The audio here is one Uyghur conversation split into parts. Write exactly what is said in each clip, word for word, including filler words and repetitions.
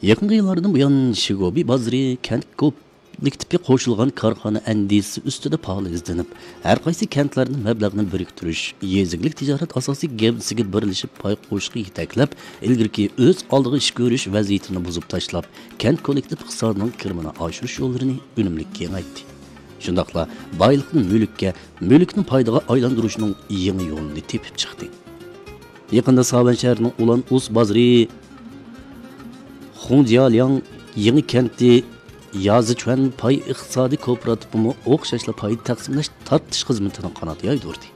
يېقىنقى يىللاردىن بۇيان، شىگوبى بازىرى كەنت كوللېكتىپى قوشۇلغان كارخانا ئەندىزىسى ئۈستىدە پائال ئىزدىنىپ، ھەر قايسى كەنتلەردىن مەبلەغنى بىرىكتۈرۈش، يېزا ئىگىلىك تىجارەت ئاساسىي گەۋدىسىگە بىرلىشىپ پاي قوشۇشقا يېتەكلەپ، ئىلگىرىكى ئۆز ئالدىغا ئىش كۆرۈش ۋەزىيىتىنى بۇزۇپ تاشلاپ، كەنت كوللېكتىپ ئىقتىسادىنىڭ كىرىمىنى ئاشۇرۇش يوللىرىنى ئۈنۈملۈك كېڭەيتتى. شۇنداقلا بايلىقنى مۈلۈككە، مۈلۈكنى پايدىغا ئايلاندۇرۇشنىڭ يېڭى يولىنى تېپىپ چىقتى. يېقىندا ساۋەن شەھىرىنىڭ ئۇلان ئۇس بازىرى خۇڭجيالياڭ يېڭى كەنتى يازىچۈەن پاي ئىقتىسادىي كوپىراتىپىمۇ ئوخشاشلا پايدا تەقسىملەش تارتىش خىزمىتىنى قانات يايدۇردى.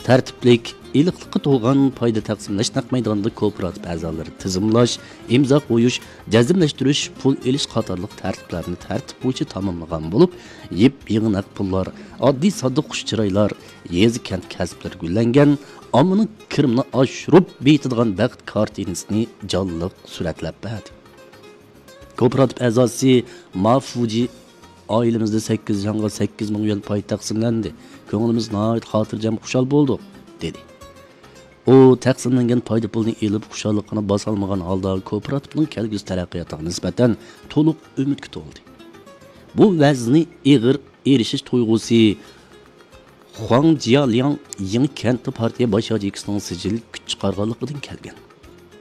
تەرتىپلىك، ئېنىقلىققا تولغان پايدا تەقسىملەش نەق مەيدانىدا كوپىراتىپ ئەزالىرى تىزىملاش، ئىمزا قويۇش، جەزملەشتۈرۈش، پۇل ئېلىش قاتارلىق تەرتىپلەرنى تەرتىپ بويىچە تاماملىغان بولۇپ، يېپيېڭى نەق پۇللار، ئاددىي ساددا خۇش چىرايلار، يېزا كەنت كەسىپلىرى گۈللەنگەن، ئاممىنىڭ كىرىمىنى ئاشۇرۇپ بېيىتىدىغان بەخت كارتىنىسىنى جانلىق سۈرەتلەپ بەردى. كوپىراتىپ ئەزاسى ما فۇجى، «ئائىلىمىزدە سەككىز جانغا سەككىز مىڭ يۈەن پاي تەقسىملەندى. كۆڭلىمىز ناھايىتى خاتىرجەم، خۇشال بولدۇق» دېدى. ئۇ تەقسىملەنگەن پايدا پۇلنى ئېلىپ، خۇشاللىقىنى باسالمىغان ھالدا كوپىراتىپنىڭ كەلگۈسى تەرەققىياتىغا نىسبەتەن تولۇق ئۈمىدكە تولدى. بۇ ۋەزنى ئېغىر ئېرىشىش تۇيغۇسى خۇاڭ جيالياڭ يېڭى كەنتتە پارتىيە باش ياچېيكىسىنىڭ سىجىل كۈچ چىقارغانلىقىدىن كەلگەن.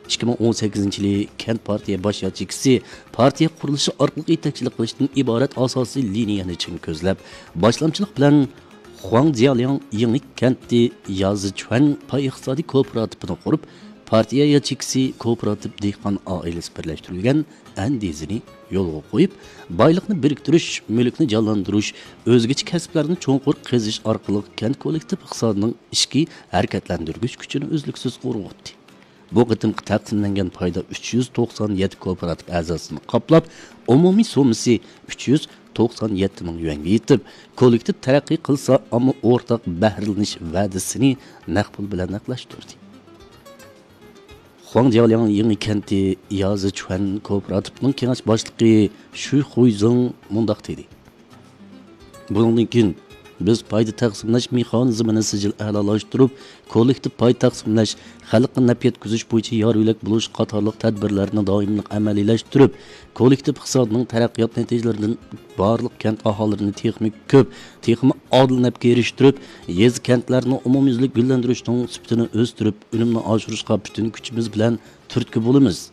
ئىككى مىڭ ئون سەككىزىنچى يىلى كەنت پارتىيە باش ياچېيكىسى پارتىيە قۇرۇلۇشى ئارقىلىق يېتەكچىلىك قىلىشتىن ئىبارەت ئاساسىي لىنىيەنى چىڭ كۆزلەپ، باشلامچىلىق بىلەن خۇاڭ جيالياڭ يېڭى كەنتى يازىچۈەن پاي ئىقتىسادىي كوپىراتىپىنى قۇرۇپ، پارتىيە ياچېيكىسى كوپىراتىپ دېھقان ئائىلىسى بىرلەشتۈرۈلگەن ئەندىزىنى يولغا قويۇپ، بايلىقنى بىرىكتۈرۈش، مۈلۈكنى جانلاندۇرۇش، ئۆزگىچە كەسىپلەرنى چوڭقۇر قېزىش ئارقىلىق كەنت كوللېكتىپ ئىقتىسادىنىڭ ئىچكى ھەرىكەتلەندۈرگۈچ كۈچىنى ئۈزلۈكسىز ئۇرغۇتتى. بۇ قېتىمقى تەقسىملەنگەن پايدا ئۈچ يۈز توقسان يەتتە كوپىراتىپ ئەزاسىنى قاپلاپ، ئومۇمىي سوممىسى ئۈچ يۈز توقسان يەتتە مىڭ يۈەنگە يېتىپ، كوللېكتىپ تەرەققىي قىلسا، ئامما ئورتاق بەھرىلىنىش ۋەدىسىنى نەق پۇل بىلەن نەقلەشتۈردى. خۇاڭ جيالياڭ يېڭى كەنتى يازىچۈەن كوپىراتىپىنىڭ كېڭەش باشلىقى شۈ خۇيزېڭ مۇنداق دېدى: «بۇنىڭدىن كېيىن بىز پايدا تەقسىملەش مېخانىزمىنى سىجىل ئەلالاشتۇرۇپ، كوللېكتىپ پاي تەقسىملەش، خەلققە نەپ يەتكۈزۈش بويىچە يار يۆلەك بولۇش قاتارلىق تەدبىرلەرنى دائىملىق ئەمەلىيلەشتۈرۈپ، كوللېكتىپ ئىقتىسادىنىڭ تەرەققىيات نەتىجىلىرىدىن بارلىق كەنت ئاھالىلىرىنى تېخىمۇ كۆپ، تېخىمۇ ئادىل نەپكە ئېرىشتۈرۈپ، يېزا، كەنتلەرنى ئومۇميۈزلۈك گۈللەندۈرۈشنىڭ سۈپىتىنى ئۆستۈرۈپ، ئۈنۈمنى ئاشۇرۇشقا پۈتۈن كۈچىمىز بىلەن تۈرتكە بولىمىز»